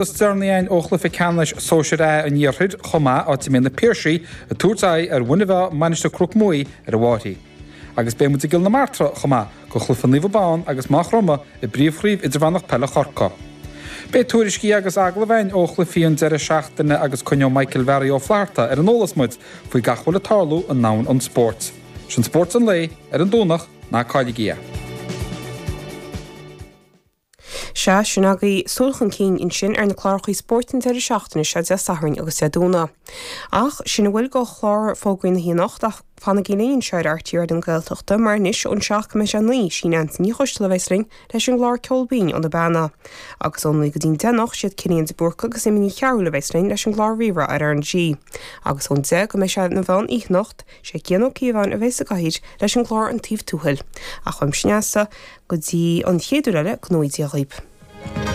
Is deireanaí againn ó chluiche ceannais Sóisir A an Iarthair chomh maith, áit a mbeidh na Piarsaigh ag tabhairt aghaidh ar Mhuine Mheá, Mainistir Chnoc Muaidhe ar an Mháirthigh. Agus beidh muid i gCill na Martra chomh maith go chluiche Naomh Abán agus Maigh Chromtha i bPríomhchraobh Idirmheánach Peile Chorcaí. Beidh tuairiscí agus agallaimh againn ó chluichí an deireadh seachtaine agus coinneoidh Michael Bharry Ó Flatharta ar an eolas muid faoi gach a bhfuil ag tarlú i ndomhan an spóirt. Sin Spórt an Lae ar an Domhnach, ná cailligí é. Sea, sin agaibh súil chun cinn ansin ar na clárachaí spóirt an deireadh seachtaine seo, Dé Sathairn agus Dé Domhnaigh. Ach sin a bhfuil de chlár Fógraí na hAoine anocht ach fanaigí linn anseo ar RTÉ Raidió na Gaeltachta mar anois ón 7 go mbeidh sé 9, sí Neansaí Ní Choisteala a bheas linn leis an gclár Ceol Binn ó na Beanna. Agus ón 9 go dtí'n 10 anocht, siad Cillian de Búrca agus Emma Ní Chearúil a bheas linn leis an gclár Rí-Rá ar RnaG. Agus ón 10 go mbeidh sé na mheán oíche anocht, sé Cian Ó Cíobháin a bheas sa gcathaoir leis an gclár An Taobh Tuathail. Ach uaimse Neasa, Go dtí an chéad uair eile, go ngnóthaí Dia dhaoib.